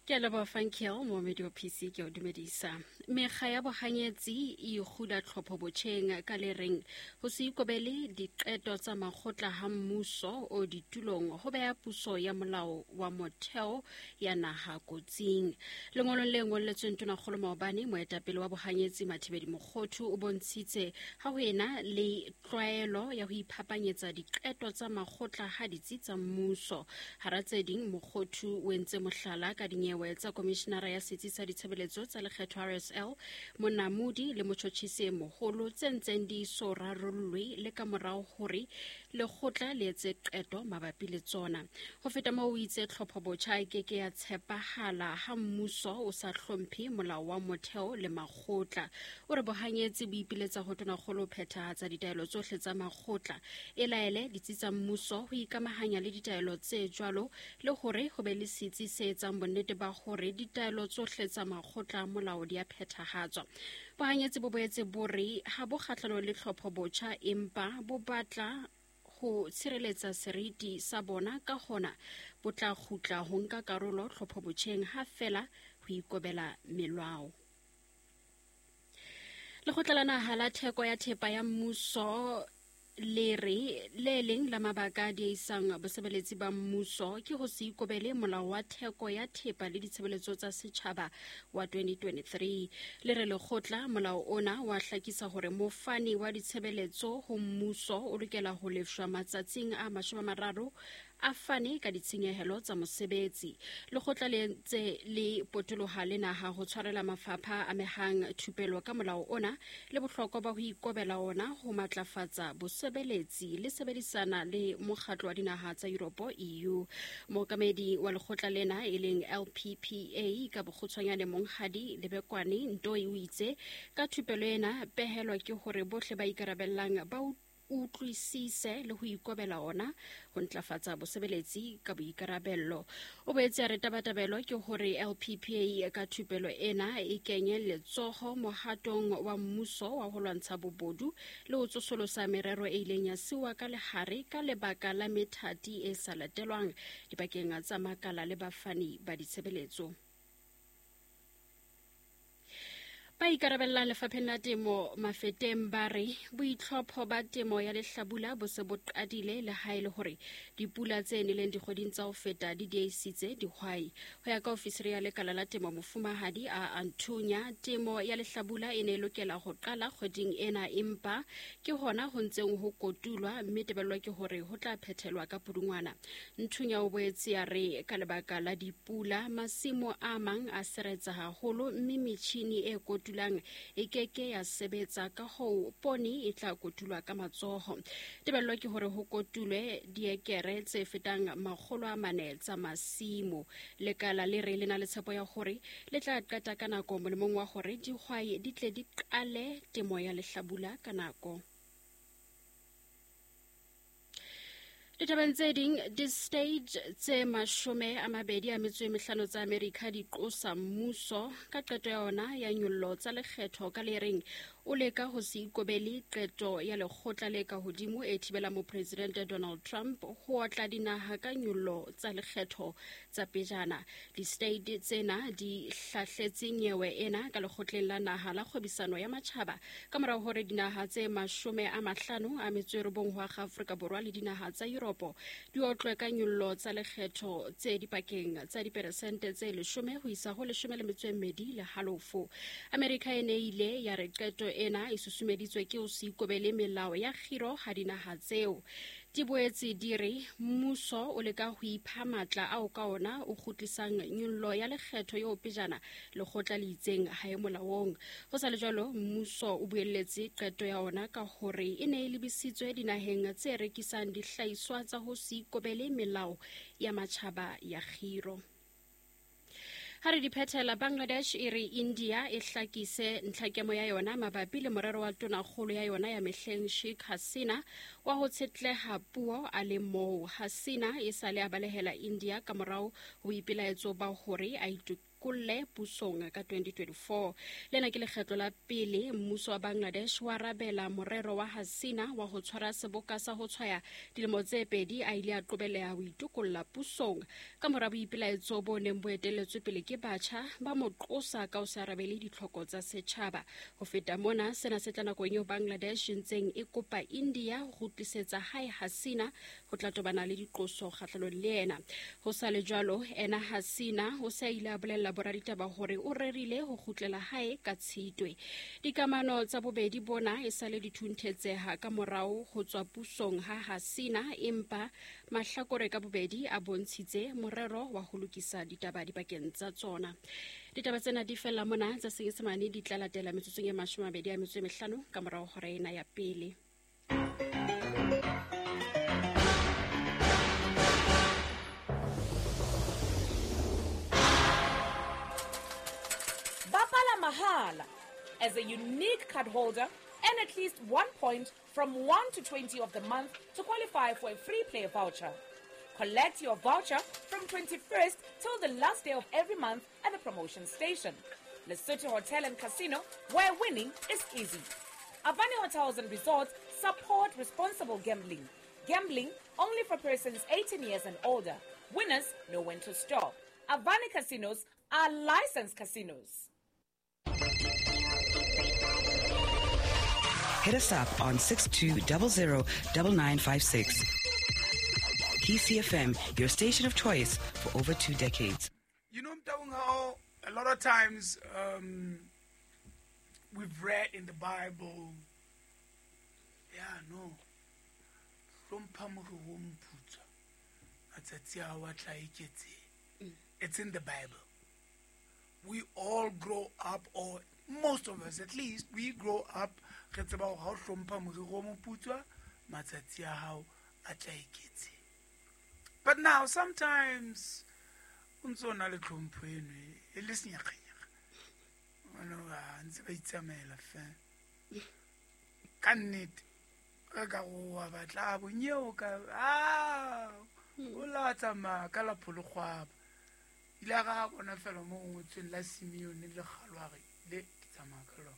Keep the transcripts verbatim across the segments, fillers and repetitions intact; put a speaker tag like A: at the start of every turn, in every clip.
A: Ke a leboha Funkel, moomedi wa P C ke o dumedisa. Mekga ya bohanyetsi e ikgula tlhopho botjheng ka le reng ho se ikobele diqeto tsa makgotla ha mmuso o ditulong ho beha puso ya molao wa motheo ya naha kotsing. Lengolong le ngolletsweng Tonakgolo maobane, moetapele wa bohanyetsi Mathibeli Mokhothu o bontshitse ha ho ena le tlwaelo ya ho iphapanyetsa diqeto tsa makgotla ha ditsi tsa mmuso. Hara tse ding, Mokhothu o entse mohlala ka dinyewe tsa komishenara ya setsi sa ditshebeletso tsa lekgetho R S L Monamodi le motjhotjhisi e moholo tse ntseng di so rarollwe le ka morao hore lekgotla le etse qeto mabapi le tsona. Ho feta moo, o itse tlhopho botjha e ke ke ya tshepahala ha mmuso o sa hlomphe molao wa motheo le makgotla. O re bohanyetsi bo ipiletsa ho Tonakgolo ho phethahatsa ditaelo tsohle tsa makgotla, e laele ditsi tsa mmuso ho ikamahanya le ditaelo tse jwalo le hore ho be le setsi se etsang bonnete ba hore ditaelo tsohle tsa makgotla a molao di a phethahatswa. Bohanyetsi bo boetse bo re ha bo kgahlanong le tlhopho botjha, empa bo batla ho tshireletsa seriti sa bona, ka hona bo tla kgutla ho nka karolo tlhopho botjheng ha feela ho ikobela melao. Lekgotla la Naha la Theko ya Thepa ya Mmuso le re le leng la mabaka a diehisang bosebeletsi ba mmuso ke ho se ikobele molao wa theko ya thepa le ditshebeletso tsa setjhaba wa twenty twenty-three. Le re lekgotla molao ona wa hlakisa hore mofani wa ditshebeletso ho mmuso o lokela ho lefshwa matsatsing a mashome a mararo a fane ka ditshenyehelo tsa mosebetsi. Lekgotla le ntse le potoloha le naha ho tshwarela mafapha a amehang thupelo ka molao ona le bohlokwa ba ho ikobela ona ho matlafatsa bosebeletsi le sebedisana le mokgatlo wa dinaha tsa Yuropo E U. Mookamedi wa lekgotla lena e leng L P P A ka bokgutshwanyane Monghadi Lebekwane Ntoi o itse ka thupelo ena pehelo ke hore bohle ba ikarabellang ba utlwisise le ho ikobela ona ho ntlafatsa bosebeletsi ka boikarabello. O boetse a re tabatabelo ke hore L P P A ka thupelo ena e kenye letsoho mohatong wa mmuso wa ho lwantsha bobodu le ho tsosolosa merero e ileng ya siuwa ka lehare ka lebaka la methati e sa latelwang dipakeng tsa makala le bafani ba ditshebeletso. Ba ikarabellang lefapheng la temo Mafeteng ba re boitlhopho ba temo ya lehlabula bo se bo qadile le ha e le hore dipula tse neleng dikgweding tsa ho feta di diehisitse dihwai. Ho ya ka ofisiri ya lekala la temo Mofumahadi a Anthunya, temo ya lehlabula e ne e lokela ho qala kgweding ena, empa ke hona ho ntseng ho kotulwa mme tebello ke hore ho tla phethelwa ka Pudungwana. Nthunya o boetse a re ka lebaka la dipula masimo a mang a seretsa haholo mme metjhini e kotulwa e keke ya sebetsa, ka hoo poone e tla kotulwa ka matsoho. Tebello ke hore ho kotulwe diekere tse fetang makgolo a mane tsa masimo. Lekala le re le na le tshepo ya hore le tla qeta ka nako molemong wa hore dihwai di tle di qale temo ya lehlabula ka nako. Ditabeng tse ding, di-state tse mashome a mabedi a metso e mehlano tsa Amerika di qosa mmuso ka qeto ya ona ya nyollo tsa lekgetho ka le reng o leka ho se ikobele qeto ya lekgotla le ka hodimo e thibelang mopresidente Donald Trump ho otla dinaha ka nyollo tsa lekgetho tsa pejana. Di-state tsena di hlahletse nyewe ena ka lekgotleng la naha la kgwebisano ya matjhaba ka morao hore dinaha tse mashome a mahlano a metso e robong ho akga Afrika Borwa le dinaha tsa Yuropo di otlwe ka nyollo tsa lekgetho tse dipakeng tsa diperesente tse leshome ho isa ho leshome le metso e mmedi le halofo. Amerika e ne ile ya re qeto ena e susumeditswe ke ho se ikobele melao ya kgiro ha dinaha tseo. Di boetse di re mmuso o leka ho ipha matla ao ka ona o kgutlisang nyollo ya lekgetho eo pejana lekgotla le itseng ha e molaong. Ho sa le jwalo, mmuso o buelletse qeto ya ona ka hore e ne e lebisitswe dinaheng tse rekisang dihlahiswa tsa ho se ikobele melao ya matjhaba ya kgiro. Ha re di phethela, Bangladesh e re India e hlakise ntlhakemo ya yona mabapi le morero wa tonakgolo ya yona ya mehleng Sheikh Hasina wa ho tshetleha puo a le moo. Hasina e sale a balehela India ka morao ho boipelaetso ba hore a itokolle pusong ka twenty twenty-four. Lena ke lekgetlo la pele mmuso wa Bangladesh wa arabela morero wa Hasina wa ho tshwara seboka sa ho tshwaya dilemo tse pedi a ile a qobelleha ho itokolla pusong ka mora boipelaetso bo neng bo etelletswe pele ke batjha ba mo qosa ka ho se arabele ditlhoko tsa setjhaba. Ho feta mona, sena se tla nakong eo Bangladesh ntseng e kopa India ho kgutlisetsa hae Hasina ho tla tobana le diqoso kgahlanong le yena. Ho sa le jwalo, ena Hasina o se a ile a bolella boraditaba hore o rerile ho kgutlela hae ka Tshitwe. Dikamano tsa bobedi bona e sale di thunthetseha ka morao ho tswa pusong ha Hasina, empa mahlakore ka bobedi a bontshitse morero wa ho lokisa ditaba dipakeng tsa tsona. Ditaba tsena di fella mona, tsa Senyesemane di tla latela metsotsong e mashome a mabedi a metso e mehlano ka morao hora ena ya pele.
B: Bapala mahala as a unique card holder and at least one point from one to twenty of the month to qualify for a free play voucher. Collect your voucher from twenty-first till the last day of every month at the promotion station. Lesotho Hotel and Casino, where winning is easy. Avani Hotels and Resorts support responsible gambling. Gambling only for persons eighteen years and older. Winners know when to stop. Avani Casinos are licensed casinos.
C: Hit us up on six two zero zero nine nine five six. T C F M, your station of choice for over two decades.
D: You know, Mtaung, how a lot of times um, we've read in the Bible, yeah, no, it's in the Bible. We all grow up, or most of us at least, we grow up re tseba hore ha o hlompha moriri o moputswa, matsatsi a hao a tla eketseha. But now sometimes o ntso o na le tlhompho eno e le senyakgenyakga. Ono a ntse ba itsamaela fela. Ka nnete re ka go wa batla bonyeo ka ah o la tsamaya ka la pholokgwaba. Ile ga bona fela mo ngotsweng la Simeon le Kgalware le ke tsamaya ka lona.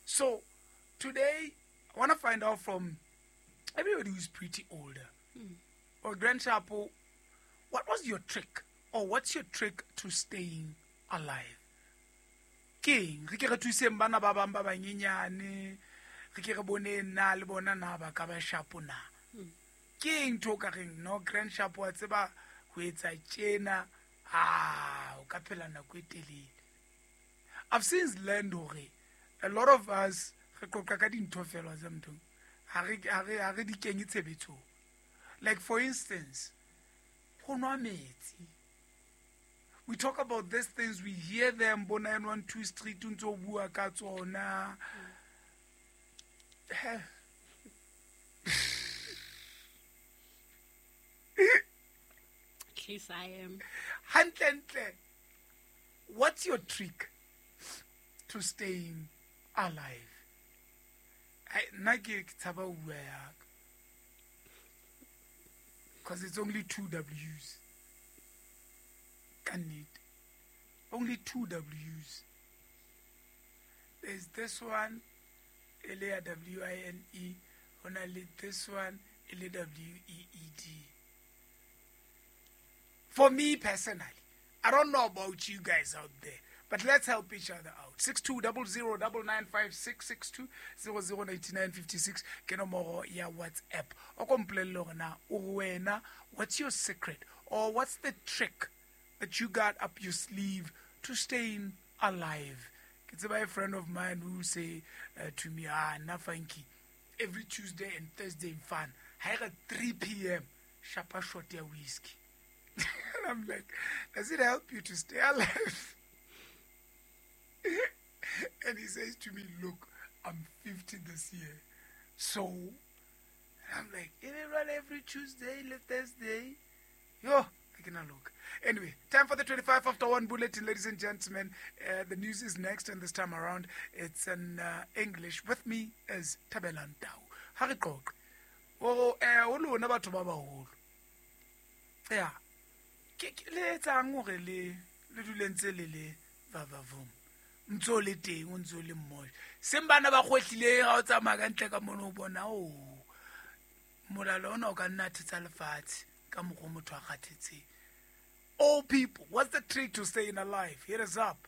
D: So today I want to find out from everybody who's pretty older. Mm. Or Grand Chapo, what was your trick? Or what's your trick to staying alive? Keng, re ke re thuseng bana ba bang ba banyenyane, re ke re bone nna le bona na ba ka ba shapo na. Keng ntho ka reng no Grand Chapo wa tseba ho etsa tjena, ah, o ka phela nako e telele. I've since learned hore a lot of us re qoqa ka dintho fela tsa motho. Ha re ha re ha re di kenye tshebetsong. Like for instance, ho nwa metsi. We talk about these things, we hear them, bo nine one two Street, ntso bua ka tsona.
A: At least I am.
D: Hantle, what's your trick to staying alive? I nna ke tshaba ho bua ya ka. Because it's only two W's. Ka nnete. Only two W's. There's this one, e le ya W I N E, ho na le this one, e le W E E D. For me personally, I don't know about you guys out there, but let's help each other out. six two zero zero nine nine five six six two zero zero nine nine five six ke nomoro ya WhatsApp. O ko mpolelle hore na o wena, what's your secret or what's the trick that you got up your sleeve to staying alive? Ke tseba a friend of mine who say uh, to me, ah, na funky, every Tuesday and Thursday in fun, ha e three p.m. shapa shot ya whiskey. And I'm like, does it help you to stay alive? And he says to me, look, I'm fifty this year. So, I'm like, run every Tuesday, Thursday. Yo, I cannot look. Anyway, time for the twenty-five after one bulletin, ladies and gentlemen. Uh, the news is next, and this time around, it's in uh, English. With me is Thabelang Tau. Ha re qoqe. O eh o lona batho ba baholo. Yeah. Ke le etsang hore le Le dule ntse le le vavavum. Ntse o le teng, o ntse o le mmoja. Seng bana ba kgwehlileng ha o tsamaya ka ntle ka mono o bona, o molala ona o ka nna thetsa lefatshe ka mokgwa motho a kgathetseng. Old people, what's the trick to staying alive? Hit us up.